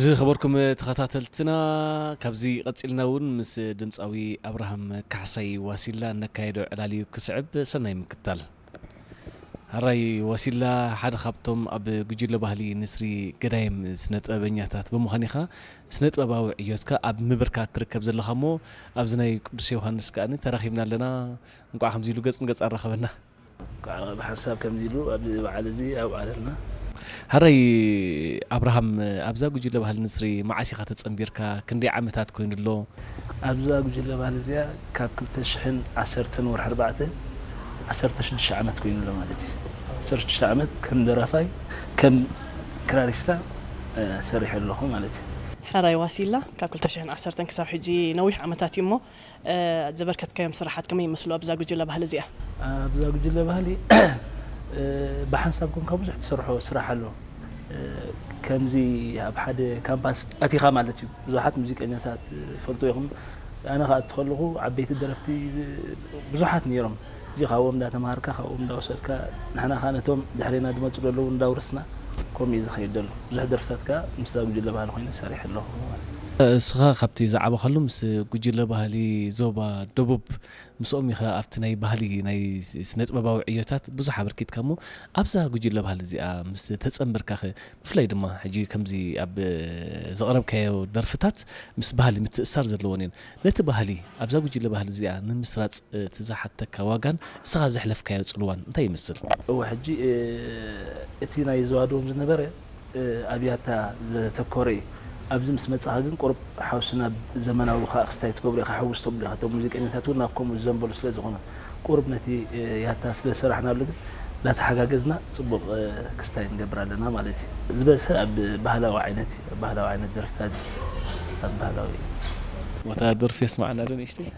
ዝኸበርኩም ተኸታተልትና፣ ካብዚ ቀጺልና እውን ምስ ድምጻዊ ኣብርሃም ካሕሳይ ዋሲላ እነካየዶ ዕላል እዩ ክስዕብ። ሰናይ ምክታል። ሕራይ ዋሲላ፣ ሓደ ካብቶም ኣብ ጉጅለ ባህሊ ንስሪ ገዳይም ስነ ጥበበኛታት ብምዃን ኢኻ፣ ስነ ጥበባዊ ዕዮትካ ኣብ ምብርካት ትርከብ ዘለኻ እሞ፣ ኣብዚ ናይ ቅዱስ ዮሃንስ ከኣ ተራኺብና ኣለና። እንቋዕ ከምዚ ኢሉ ገጽ ንገጽ ኣራኸበና። ብሓንሳብ ከምዚ ኢሉ ኣብዚ በዓል እዚ ኣብዓለልና። ሕራይ ኣብርሃም፣ ኣብዛ ጉጅለ ባህሊ ንስሪ መዓስ ኢኻ ተጸንቢርካ? ክንደይ ዓመታት ኮይኑ ኣሎ? ኣብዛ ጉጅለ ባህሊ እዚኣ ካብ ክልተ ሽሕን ዓሰርተን ወርሒ ኣርባዕተ፣ ዓሰርተ ሽዱሽተ ዓመት ኮይኑ ኣሎ ማለት እዩ። ዓሰርተ ሽዱሽተ ዓመት ከም ደራፋይ፣ ከም ክራሪስታ፣ እ፣ ሰሪሐ ኣለኹ ማለት እዩ። ሕራይ ዋሲላ፣ ካብ ክልተ ሽሕን ዓሰርተን ክሳብ ሕጂ ነዊሕ ዓመታት እዩ እሞ፣ እ፣ ዘበርከትካዮም ስራሓት ከመይ ይመስሉ ኣብዛ ጉጅለ ባህሊ እዚኣ? ኣብዛ ጉጅለ ባህሊ፣ እ፣ ብሓንሳብ ኮንካ ብዙሕ ትሰርሖ ስራሕ ኣሎ። እ፣ ከምዚ ኣብ ሓደ ካምፓስ ኣቲኻ ማለት እዩ። ብዙሓት ሙዚቀኛታት ፈልጡ ኢኹም። ኣነ ከኣ እትኸለኹ ዓበይቲ ደረፍቲ ብዙሓት ነይሮም። እዚ ካብኦም እንዳተማሃርካ፣ ካብኦም እንዳወሰድካ፣ ንሕና ከኣ ነቶም ድሕሬና ዝመጹ ዘለዉ እንዳውረስና፣ ከምኡ እዩ ዝኸይድ ዘሎ። ብዙሕ ደርፍታት ከኣ ምስዛ ጉጅለ ባህሊ ኮይነ ሰሪሐ ኣለኹ ማለት እዩ። እስኻ ካብቲ ዝዓበኻሉ ምስ ጉጅለ ባህሊ ዞባ ደቡብ፣ ምስኦም ኢኻ ኣብቲ ናይ ባህሊ፣ ናይ ስነ ጥበባዊ ዕዮታት ብዙሕ ኣበርኪትካ እሞ፣ ኣብዛ ጉጅለ ባህሊ እዚኣ ምስ ተጸንበርካኸ፣ ብፍላይ ድማ ሕጂ ከምዚ ኣብ ዘቕረብካዮ ደርፍታት ምስ ባህሊ ምትእስሳር ዘለወን እየን። ነቲ ባህሊ ኣብዛ ጉጅለ ባህሊ እዚኣ ንምስራጽ እቲ ዝሓተካ ዋጋን እስኻ ዘሕለፍካዮ ጽልዋን እንታይ ይመስል? እወ፣ ሕጂ፣ እ፣ እቲ ናይ ዘዋድዎም ዝነበረ፣ እ፣ ኣብ ያታ ዘተኮረ እዩ። ኣብዚ ምስ መጻኻ ግን ቁሩብ ሓውስና ዘመናዊ ከኣ ክስታይ ትገብሮ ኢኻ፣ ሕውስ ተብሎ ኢኻ። እቶም ሙዚቀኛታት እውን ናብ ከምኡ ዝዘንበሉ ስለ ዝኾኑ፣ ቁሩብ ነቲ፣ እ፣ ያታ ስለ ዝሰራሕናሉ ግን እናተሓጋገዝና ጽቡቕ፣ እ፣ ክስታይ ንገብር ኣለና ማለት እዩ። ዝበዝሐ ኣብ ባህላዊ ዓይነት እዩ፣ ኣብ ባህላዊ ዓይነት ደርፍታት እዩ። ኣብ ባህላዊ ቦታ ደርፊ የስማዕና ዶ ንእሽተይ?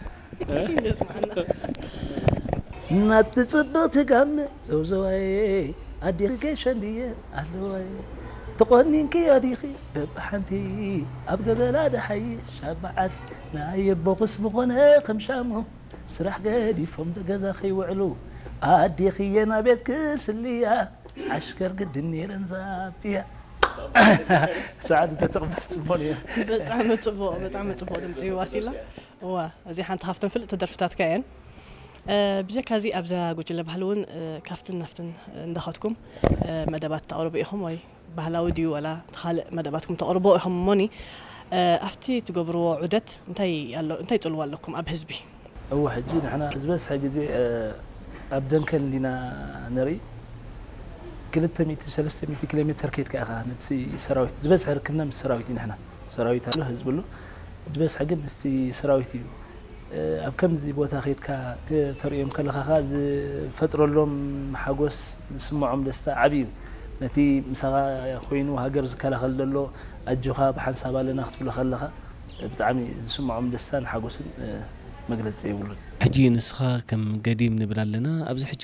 ናብቲ ጽብቕቲ ጋመ ዘውዘዋየ፣ ኣዴኺ ጌሸ እንድየ ኣለዋየ። ተቖኒንክዮ ዲኺ በብሓንቲ፣ ኣብ ገበላ ድሓይሽ ኣብ በዓቲ፣ ናይ ኣቦኽስ ምኾነ ከም ሻሙ፣ ስራሕ ገዲፎም ገዛ ከይውዕሉ፣ ኣዴኽየ ናቤት ክስልያ፣ ዓሽከር ግድን ነይረን ዛብጥያ። ሰዓት እንተተቕበል ጽቡቕ ነይሩ። ብጣዕሚ ጽቡቕ፣ ብጣዕሚ ጽቡቕ ድምጺ እዩ ዋሲላ። እዋ፣ እዚ ሓንቲ ካብተን ፍልጥቲ ደርፍታትካ እየን። እ፣ ብጀካ እዚ ኣብዛ ጉጅለ ባህሊ እውን፣ እ፣ ካብትን ናብትን እንዳኸድኩም፣ እ፣ መደባት ተቕርቡ ኢኹም ወይ ባህላዊ ድዩ ዋላ እቲ ካልእ መደባትኩም ተቕርቦ ኢኹም እሞኒ፣ እ፣ ኣብቲ ትገብርዎ ዑደት እንታይ ኣሎ፣ እንታይ ጽልዋ ኣለኩም ኣብ ህዝቢ? እወ፣ ሕጂ ንሕና ዝበዝሐ ግዜ፣ እ፣ ኣብ ደንከል እንዲና ንርኢ። ክልተ ሚእቲ፣ ሰለስተ ሚእቲ ኪሎ ሜተር ከይድካ ኢኻ ነቲ ሰራዊት፣ ዝበዝሐ ርክብና ምስ ሰራዊት እዩ። ንሕና ሰራዊት ኣሎ፣ ህዝቢ ኣሎ፣ ዝበዝሐ ግን ምስቲ ሰራዊት እዩ። እ፣ ኣብ ከምዚ ቦታ ከይድካ ክተርእዮም ከለኻ ኸኣ ዝፈጥረሎም ሓጎስ ዝስምዖም ደስታ ዓቢ እዩ። ነቲ ምሳኻ ኮይኑ ሃገር ዝከላኸል ዘሎ ኣጆኻ ብሓንሳብ ኣለና ክትብሎ ከለኻ ብጣዕሚ ዝስምዖም ደስታን ሓጎስን፣ እ፣ መግለጺ የብሉን። ሕጂ ንስኻ ከም ገዲም ንብል ኣለና፣ ኣብዚ ሕጂ